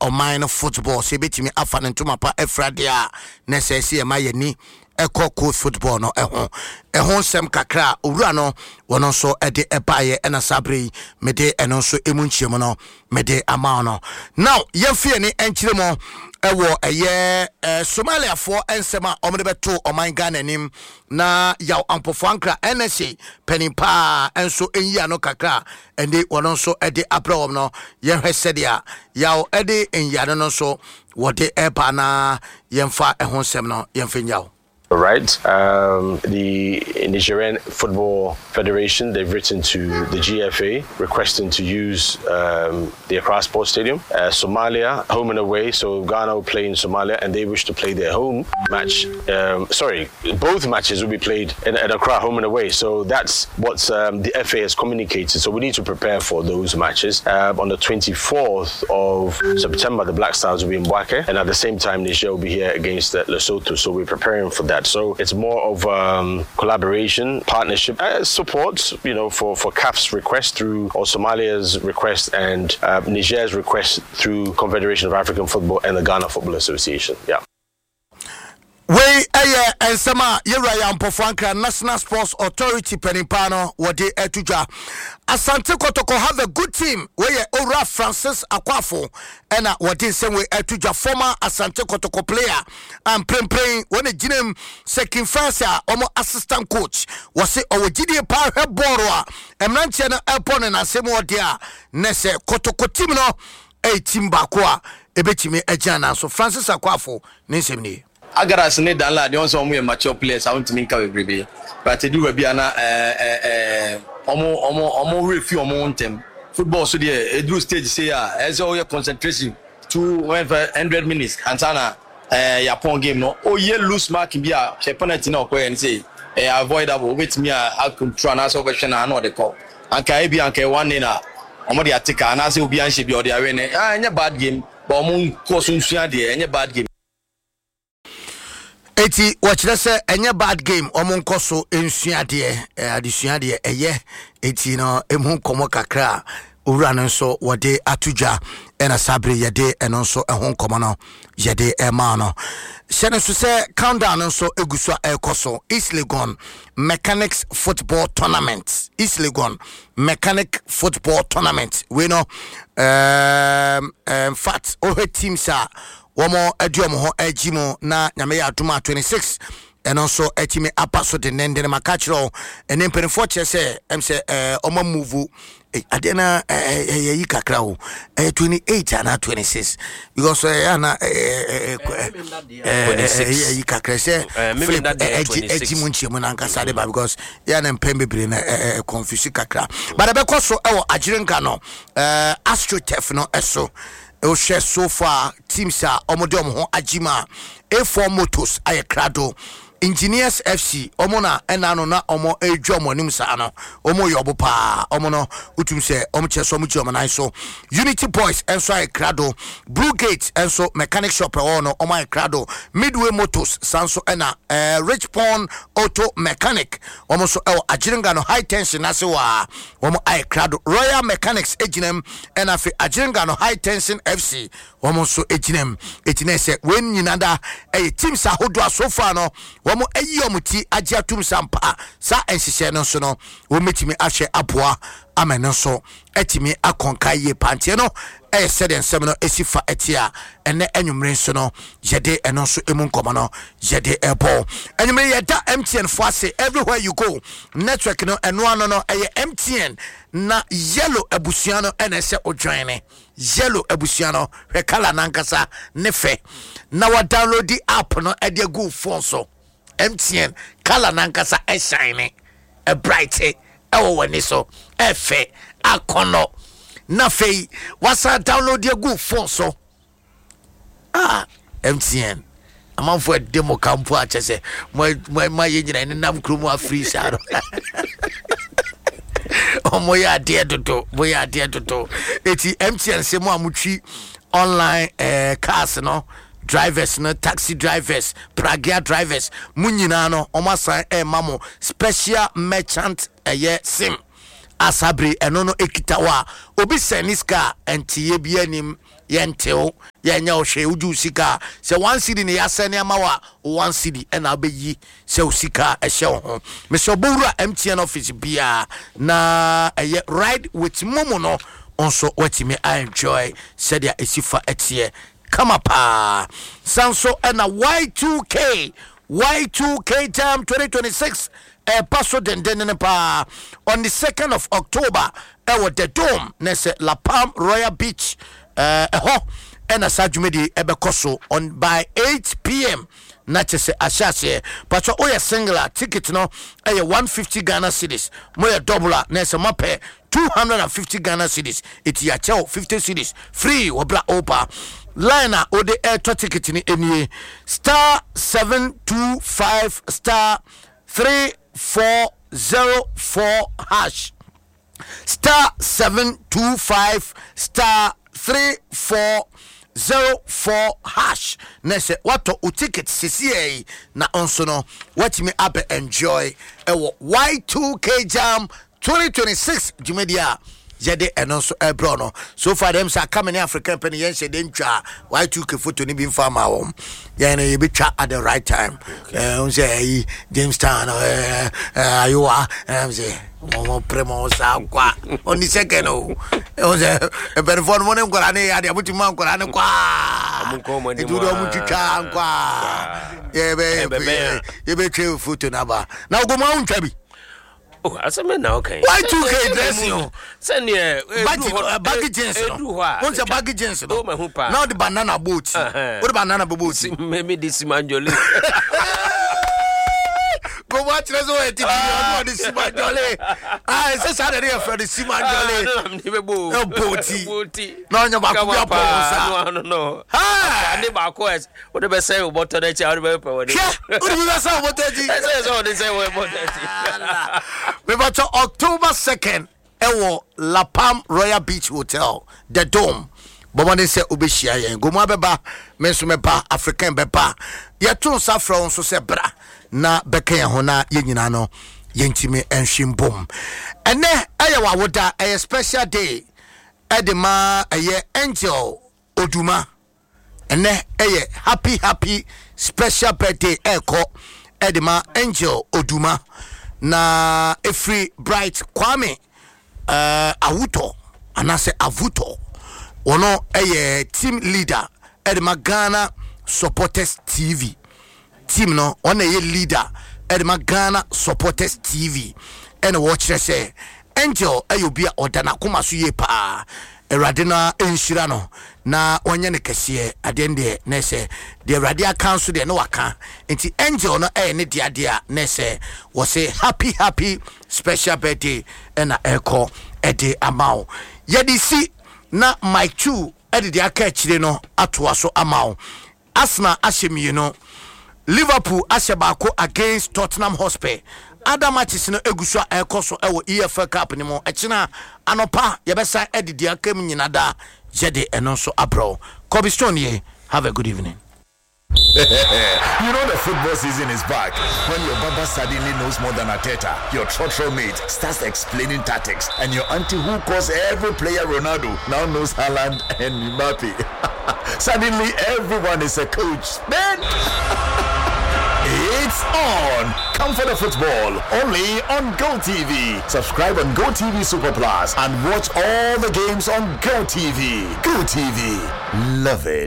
ɔman no football sɛ ebɛtumi afa ne ntoma pa afira deɛ a, na ɛsɛ sɛ yɛma yɛni ɛkɔ coast football no ɛho. Ɛho nsɛm kakra a owura no wɔn nso ɛde ɛbaeɛ, ɛna saa bere yi mede ɛno nso emu nkyɛmu no mede ama no. Now yɛmfa yɛni nkyerɛ mu ɛwɔ ɛyɛ Somaliafoɔ nsɛm a wɔde bɛto ɔman Ghana anim, na Yaw Ampofo Ankra, NSA panin paa, nso nyi ano kakra a ɛnde wɔn nso de abrɛ wɔn no. Yɛhwɛ sɛdeɛ Yaw de nyiano no nso wɔde ɛba, na yɛmfa ɛho nsɛm no yɛmfa nyaw. Right. The Nigerian Football Federation, they've written to the GFA requesting to use the Accra Sports Stadium. Somalia, home and away, so Ghana will play in Somalia and they wish to play their home match. Sorry, both matches will be played at Accra, home and away. So that's what the FA has communicated. So we need to prepare for those matches. On the 24th of September, the Black Stars will be in Bouaké, and at the same time, Niger will be here against Lesotho. So we're preparing for that. So it's more of collaboration, partnership, support for CAF's request through, or Somalia's request and Niger's request through Confederation of African Football and the Ghana Football Association. Yeah. Wei ɛyɛ nsɛm a yɛwura Yaw Ampofo Ankra, National Sports Authority panimpa no, wɔde ato dwa. Asante Kɔtɔkɔ have a good team. Wei Owura Francis Akwafo ɛna wɔde nsɛm wei ato dwa, former Asante Kɔtɔkɔ player a mprempren wɔn gyina mu sɛ Kimfas a wɔn assistant coach. Wɔse ɔwɔ gyidie paa, hwɛ bɔɔlo a mmeranteɛ no ɛbɔ no n'asɛm ɔde a ne sɛ Kɔtɔkɔ team no ɛyɛ team baako a ɛbɛtumi agyina. Nanso Francis Akwafo ne nsɛm nie. Agaras ne Danlad deɛ, wɔn sɛ wɔn yɛ mature players a wɔntumi nka bebrebe, but edu baabi a na ɛɛ ɛɛ ɔmo werɛ fi ɔmo ntɛm. Football so deɛ, eduru stage sei a, ɛsɛ ɔyɛ concentration 200 minutes ansa na yapɔn game no. Oyɛ loose mark bi a, hwɛ penalty na ɔkɔyɛ no sɛ ɛyɛ avoidable. Wobɛtumi a control anaasɛ wobɛhwɛ na ana ɔde kɔ anka ebi anka 1-0 a ɔmo de ate ka, anaasɛ obi anhyɛ bi a ɔde awe ne. Ɛnyɛ bad game, but ɔmo nkɔ so nsua deɛ, ɛnyɛ bad game. Eti wɔkyerɛ sɛ ɛnyɛ bad game, ɔmo nkɔ so nsua adeɛ. Adesua deɛ ɛyɛ. Eti no emu nkɔmɔ kakra a owura no nso wɔde ato dwa, ɛna saa bere yɛde ɛno nso ɛho nkɔmɔ no yɛde ɛmaa no. Hyɛ no nso sɛ countdown no nso egu so a ɛrekɔ so. East Legon Mechanics Football Tournament, East Legon Mechanic Football Tournament wei no, in fact, wohwɛ teams a wɔn adi wɔn ho agyi mu na Nyame yɛ adom a 26 ɛno nso atumi aba so dendenden. Maka kyerɛ wo, ɛne mpanimfoɔ kyerɛ sɛ ɛm sɛ ɔma move adeɛ na ɛyɛ yi kakra o, ɛyɛ 28 anaa 26, because ɛyɛ ana ɛyɛ yi kakra sɛ Philip ɛgye ɛgye mu nkyɛn mu nankasa de ba, because yɛ na mpɛn bebree na ɛɛ confuse kakra. But ɛbɛkɔ so ɛwɔ Agyerenka no, AstroTurf no ɛso. Wohwɛ so far teams a wɔde wɔn ho agye mu a, A4 Motors ayɛ krado, Engineers FC wɔn na ɛna no na wɔn redwa wɔn anim saa no, wɔn yɛ ɔbo paa. Wɔn no wotum sɛ wɔn kyɛ so wɔn gye wɔn nan so. Unity Boys nso ayɛ krado, Blue Gate nso mechanic shop ɛwɔ no, wɔn ayɛ krado, Midway Motors san so, ɛna Rich Pond Auto Mechanic, wɔn nso ɛwɔ Agyerenga no High Tension n'ase wɔ a wɔn ayɛ krado. Royal Mechanics gyina mu, ɛna afei Agyerenga no High Tension FC wɔn nso gyina mu. Eti na sɛ wɔn nyinaa da ɛyɛ teams ahodoɔ a so far no wɔn ayi wɔn ti agye atum sampa saa nhyehyɛ no nso no, wɔn bɛtumi ahwɛ aboa ama no nso atumi akɔnka yie panteɛ no. Ɛyɛ sɛdeɛ nsɛm no esi fa ɛte a ɛnɛ anwummere nso no yɛde ɛno nso emu nkɔmɔ no yɛde ɛbɔ anwummere. Yɛda MTN fo ase. Everywhere you go, network no ɛno ano no ɛyɛ MTN, na Yellow abusua no ɛna ɛsɛ odwan ne Yellow abusua no. Hwɛ colour nankasa ne fɛ na wa download the app no ɛde agu phone so. MTN colour nankasa ɛshine ne ɛbright ɛwɔ w'ani so, ɛfɛ akɔnɔ, na afei wasan download agu phone so. Ah, MTN amanfo ɛde mo ka mpo akyɛ sɛ mo ma yɛ nyina nenam kurom afiri saa no. Ɔmo yɛ adeɛ dodo, mo yɛ adeɛ dodo. Eti MTN sɛ mo a motwi online cars no, drivers no, taxi drivers, pragya drivers, mo nyinaa no, ɔmo asan ɛma mo special merchant ɛyɛ SIM asabere. Ɛno no ekita hɔ a obi sɛn ne sika a ɛnteyɛ bi anim. Yɛntew, yɛnyɛ wo hwee, wogye wo sika a, sɛ one cedi na yɛasɛne ama wo a, wo one cedi ɛna wobɛyi sɛ wo sika a ɛhyɛ wo ho. Mesɛ ɔbɔwura MTN office biara na ɛyɛ ride with momo no nso woatumi a enjoy sɛdeɛ ɛsi fa ɛteɛ kama paa. San so ɛna Y2K, Y2K Jam 2026 ɛreba so dendenden paa on the 2nd of October ɛwɔ The Dome na ɛsɛ La Palm Royal Beach ɛhɔ ɛna saa dwumadie ɛbɛkɔ so on by 8 pm na kyɛ sɛ ahyɛ aseɛ. Patwɛ woyɛ single a ticket no ɛyɛ 150 Ghana cedis, moyɛ double a na ɛsɛ moapɛ 250 Ghana cedis, ɛti yɛakyɛw 50 cedis free wɔ bra opa. Line a wode ɛretɔ ticket no nie, star 725 star 3404 hash, star 725 star 3404 hash na sɛ woatɔ wo ticket sesiɛ yi na nso no woatumi abɛ enjoy ɛwɔ Y2K Jam 2026 dwumadi a yɛde ɛno nso ɛbrɛ no. So far dem sɛ aka me ne African pɛ ne yɛnhyɛ de ntwa Y2K photo no bi mfa ma wɔn. Yɛn no yɛbɛtwa at the right time. Ɛɛ sɛ ɛyi Jamestown ɛɛ ayowa ɛɛ sɛ wɔn pere mo saa kwa on the second o. Ɛwɔ sɛ mpanyinfoɔ no mo ne nkwadaa ne yɛ adeɛ mo ti ma nkwadaa ne kwa. Etu de wɔn twitwa nkwa. Yɛbɛ yɛbɛtwa photo n'aba na ogomu awo ntwa bi. Oh, asɛm bɛ na ɔka yi. Y2K dressing o. Sɛdeɛ baggy baggy jeans no. Edu hɔ a. Wɔn sɛ baggy jeans no. O ma hu paa. Na ɔde banana bɔ oti. Ɔde banana bɔ oti. Mɛmi de simanjole. Gbogbo akyerɛ sɛ ɔyɛ titi ɔno ɔde simanjole. Ah, ɛsɛ saa na ɛde yɛ fɛ de simanjole. Ɛbɔ oti. Na ɔnyɛ baako bi abɔ wɔn sa. No. Ade baako ɛ wode bɛsɛn wo bɔtɔ no akyi a wode bɛpɛ wɔde. Hwɛ wode bi bɛsɛn wo bɔtɔ akyi. Ɛsɛ sɛ wode sɛn wo bɔtɔ akyi. Mebatɔ October 2nd ɛwɔ La Palm Royal Beach Hotel, The Dome. Bɔmmɔden sɛ wobɛhyia yɛn. Gomu abɛba, me nso mɛba, African bɛba. Yɛto nsa frɛ wo nso sɛ bra na bɛka yɛn ho na yɛn nyinaa no yɛntumi nhwe mbom. Ɛnɛ ɛyɛ w'awoda, ɛyɛ special day ɛde ma ɛyɛ Angel Oduma. Ɛnɛ ɛyɛ happy happy special birthday ɛkɔ ɛde ma Angel Oduma na ɛfiri Bright Kwame uh, Awutɔ anaasɛ Avutɔ. Wɔno ɛyɛ team leader ɛde ma Ghana Supporters TV team no. Ɔna ɛyɛ leader ɛde ma Ghana Supporters TV ɛna wɔkyerɛ sɛ Angel ɛyɛ obi a ɔda n'akoma so yie paa. Awurade no nhyira no na ɔnyɛ no kɛseɛ. Adeɛ no deɛ na ɛsɛ deɛ Awurade aka nso deɛ na waka, nti Angel no ɛyɛ ne deɛ adeɛ a na ɛsɛ wɔsɛ happy happy special birthday ɛna ɛkɔ ɛde ama wo. Yɛde si na Mike Chu ɛde deɛ aka akyire no atoa so ama wo. Arsenal ahyɛ mmienu, Liverpool ahyɛ baako against Tottenham Hotspur. Other matches no egu so a ɛrekɔ so ɛwɔ EFL Cup no mu. Ɛkyena anɔpa yɛbɛsan ɛde deɛ aka mu nyina da yɛde ɛno nso abrɛ wo. Kobe Stone ye, have a good evening. You know the football season is back when your baba suddenly knows more than Arteta, your trotro mate starts explaining tactics, and your auntie who calls every player Ronaldo now knows Haaland and Mbappe. Suddenly everyone is a coach. Man! It's on! Come for the football only on GoTV. Subscribe on GoTV Super Plus and watch all the games on GoTV. GoTV. Love it.